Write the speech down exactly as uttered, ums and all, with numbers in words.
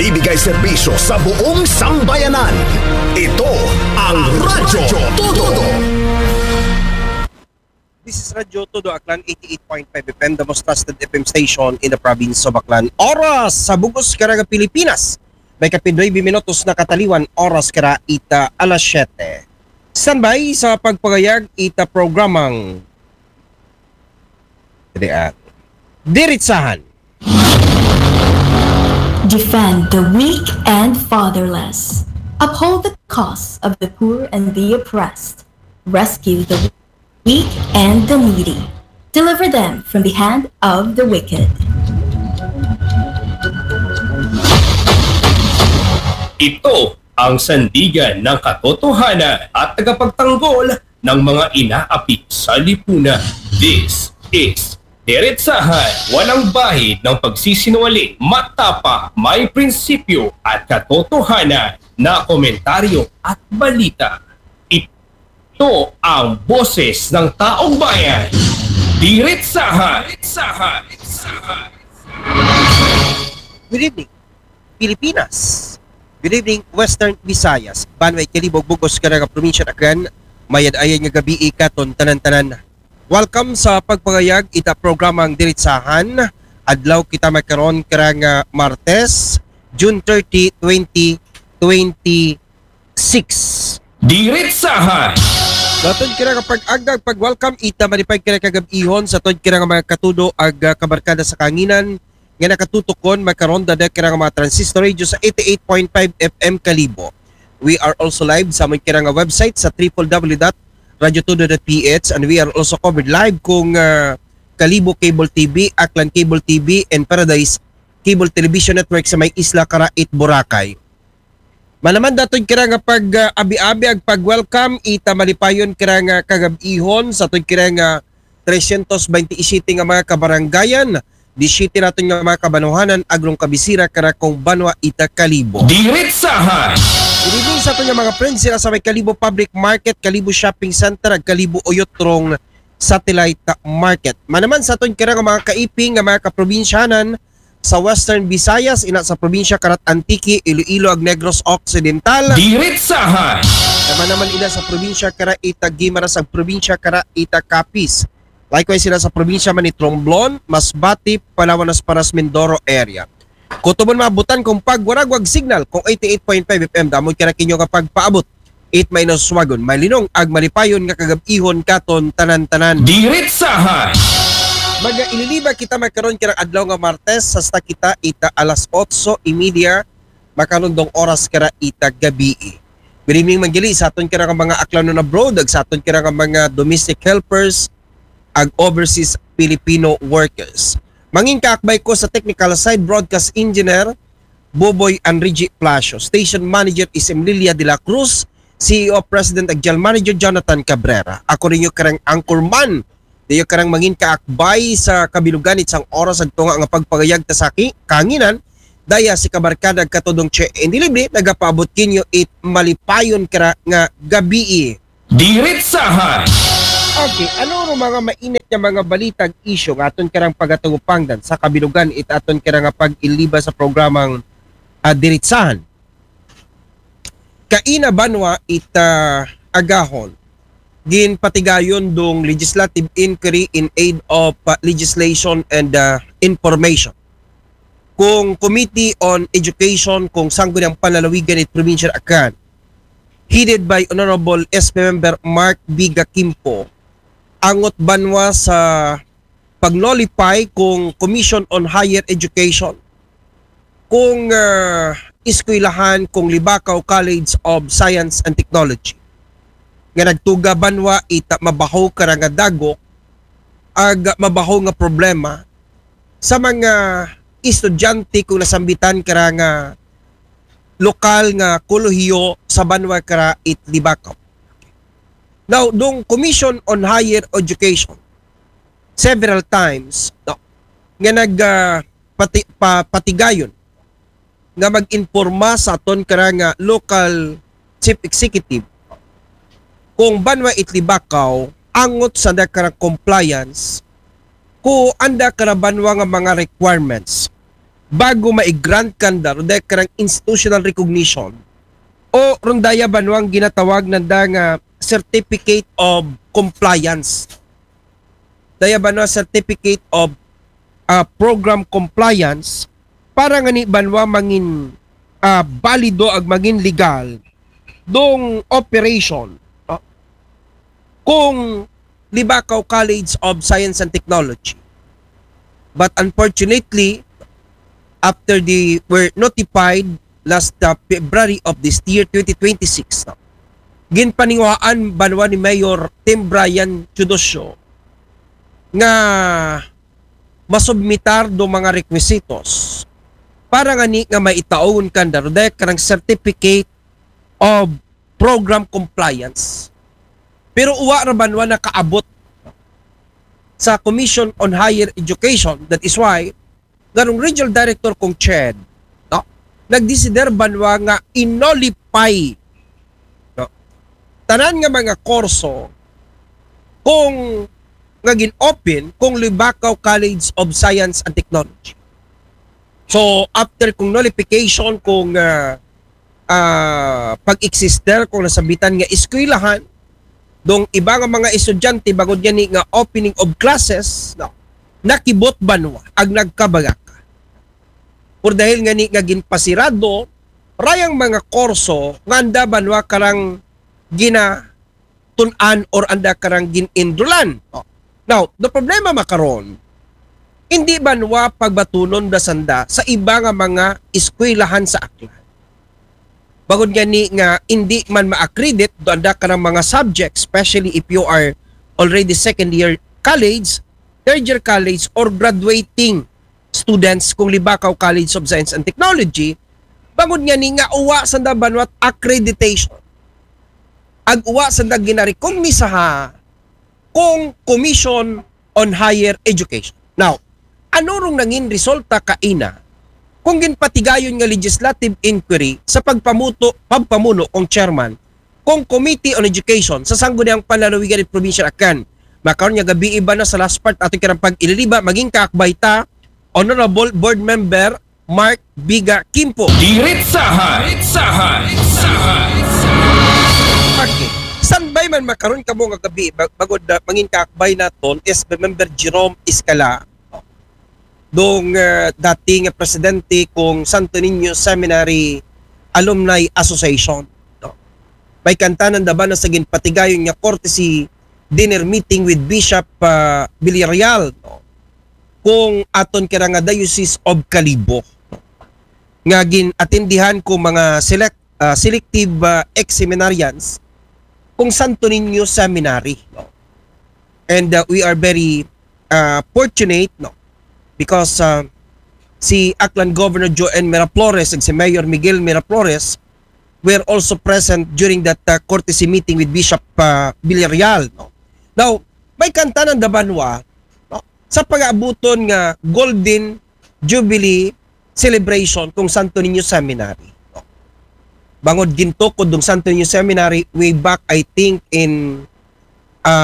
Ibigay serbisyo sa buong sambayanan. Ito ang Radyo Todo. This is Radyo Todo Aklan, eighty-eight point five F M, the most trusted F M station in the province of Aklan. Oras sa bug-os karang Pilipinas. May kapin nuebe minutos na kataliwan, oras kara ita alas siyete. Standby sa pagpagayag ita programang Diritsahan. Defend the weak and fatherless. Uphold the cause of the poor and the oppressed. Rescue the weak and the needy. Deliver them from the hand of the wicked. Ito ang sandigan ng katotohanan at tagapagtanggol ng mga inaapi sa lipunan. This is Diretsahan, walang bahid ng pagsisinungaling, matapa, may prinsipyo at katotohanan na komentaryo at balita. Ito ang boses ng taong bayan. Diretsahan. Diretsahan. Good evening, Pilipinas. Good evening, Western Visayas. Banwa ikalibog bug-os karang probinsya Aklan. Mayad-ayad nga gabii katon tanan-tanan. Welcome sa pagpagayag ita programang Diretsahan. Adlaw kita magkaron karang Martes, June thirty, twenty twenty-six. Diretsahan. Sa atun karang pag-agda, pag-welcome ita malipay karang kagabihon sa atun karang mga katudo ag ah, kabarkada sa kanginan nga nakatutukon magkaron dada karang mga transistor radio sa eighty-eight point five F M Kalibo. We are also live sa amon karang website sa triple W dot radyo todo dot P H, and we are also covered live kung ah, Kalibo Cable T V, Aklan Cable T V, and Paradise Cable Television Network sa may isla kara it Boracay. Manaman da atun karang pag-abi-abi ag pag-welcome ita malipayon karang kagabihon sa atun karang tresyentos baynte y siyete nga mga kabarangayan, disiyete natun nga mga kabanwahanan, agrong kabisira kara kung banwa ita Kalibo. Diretsahan. Good evening sa atun nga mga friends sira sa may Kalibo Public Market, Kalibo Shopping Center, ag Kalibo Oyotrong Satellite Market. Manaman sa atun karang mga kaiping nga mga kaprobinsyanan sa Western Visayas, ina sa probinsya karat Antique, Iloilo, ag Negros Occidental. Diretsahan. Manaman ina sa probinsya kara ita Guimaras ag probinsya kara ita Capiz. Likewise sila sa probinsya man ni Romblon, Masbate, Palawan, Nasparas, Mindoro area. Kung tumon maabutan kung pagwaragwag signal kung eighty-eight point five F M, damon kara kinyo nga pagpaabot. It may naswagon, malinong ag malipayon nga kagabihon katon tanan-tanan. Diretsahan. Magaililiba kita magkaron karang adlaw nga Martes, hasta kita ita alas otso y media, makarundong oras kara ita gabii. Good evening man gali sa atun karang mga Aklanon abroad, ag sa atun karang mga domestic helpers, ag overseas Filipino workers. Mangin kaakbay ko sa technical side, broadcast engineer, Boboy Enrique Palacio. Station Manager is Emlilia de la Cruz, C E O, President ag General Manager Jonathan Cabrera. Ako rin yung karang anchorman. Diyo karang mangin kaakbay sa kabilugan it sang oras ag tunga nga pagpagayag ta sa ki-, kanginan. Daya si kabarkada ag katudong Che Indilibre, nagapaabot kinyo it malipayon kara nga gabii. Diretsahan. Okay, ano ro mga mainit nga mga balita ag isyu nga atun karang pagatagupangdan sa kabilugan it atun karang pag-iliba sa programang ah, Diretsahan? Kaina banwa ita agahon, ginpatigayon dong legislative inquiry in aid of uh, legislation and uh, information kung Committee on Education kung Sangguniang Panlalawigan it Provincial Aklan, headed by Honorable S P Member Mark Biga Kimpo, angot banwa sa pag-nullify kung Commission on Higher Education kung uh, eskwelahan kung Libacao College of Science and Technology nga nagtuga banwa ita mabaho kara nga dagok ag mabaho nga problema sa mga estudyante kung nasambitan kara nga lokal nga kolehiyo sa banwa kara it Libacao. Now, dong Commission on Higher Education several times, no, nga nag ah, pati, pa, patigayon nga mag-informa sa aton kara nga local chief executive kung banwa it Libacao angot sa anda kara compliance ko anda kara banwa nga mga requirements bago ma-grant kanda, run daya karang institutional recognition, o run daya banwa ang ginatawag nanda nga certificate of compliance. Daya banwa certificate of ah, program compliance para ngani banwa mangin ah, balido ag mangin legal dong operation, no? Kung Libacao College of Science and Technology. But unfortunately, after they were notified last uh, February of this year, twenty twenty-six, no? Ginpaninguhaan banwa ni Mayor Tim Brian Teodosio nga masubmitar do mga requisitos para ngani nga maitaon kanda run daya karang certificate of program compliance. Pero uwa ra banwa nakaabot sa Commission on Higher Education. That is why ngarong Regional Director kong CHED, no, nagdesider banwa nga i-nullify, no, tanan nga mga kurso kung nga gin-open kung Libacao College of Science and Technology. So, after kung nullification, kung ah, ah, pag-exister, kung nasabitan nga eskwelahan, dong iba nga mga estudyante, bangod ngani nga opening of classes, no, nakibot banwa ag nagkabagaka. Por dahil ngani nga ginpasirado rayang mga kurso nga anda banwa karang ginatun-an or anda karang gin-enrollan. Oh. Now, the problema makaron, hindi banwa pagbatunon da sanda sa iba nga mga eskwelahan sa Aklan. Bangod ngani nga hindi man ma-accredit do anda karang mga subjects, especially if you are already second year college, third year college, or graduating students kung Libacao College of Science and Technology, bangod ngani nga uwa sanda banwa accreditation. Ag uwa sanda ginarekomnisaha kung Commission on Higher Education. Now, ano rong nangin resulta kaina kung ginpatigayon nga legislative inquiry sa pagpamuto, pagpamuno kong chairman kung Committee on Education sa Sangguniang Panlalawigan in Provincial Aklan? Makaron nga gabii banwa sa last part ato karang pag-ililiba, mangin kaakbay ta, Honorable Board Member Mark Biga Kimpo. Diretsahan! Diretsahan! Diretsahan! Okay. Standby man makaron kamo nga gabii, bag-, bangod na mangin kaakbay naton is Member Jerome Escala, dong ah, dati nga presidente kong Santo Niño Seminary Alumni Association. No? May kantanan da banwa sa ginpatigayon nga courtesy dinner meeting with Bishop ah, Villarreal, no? Kung aton kira nga Diocese of Kalibo, nga gin-atendihan ko mga select, ah, selective ah, ex-seminarians kung Santo Niño Seminary, no? And ah, we are very ah, fortunate, no? Because ah, si Aklan Governor Joan Miraflores ag si Mayor Miguel Miraflores were also present during that ah, courtesy meeting with Bishop ah, Villarreal, no? Now, may kantanan da banwa, no, sa pag-aabuton nga Golden Jubilee celebration kung Santo Niño Seminary, no? Bangod gintukod dong Santo Niño Seminary way back, I think, in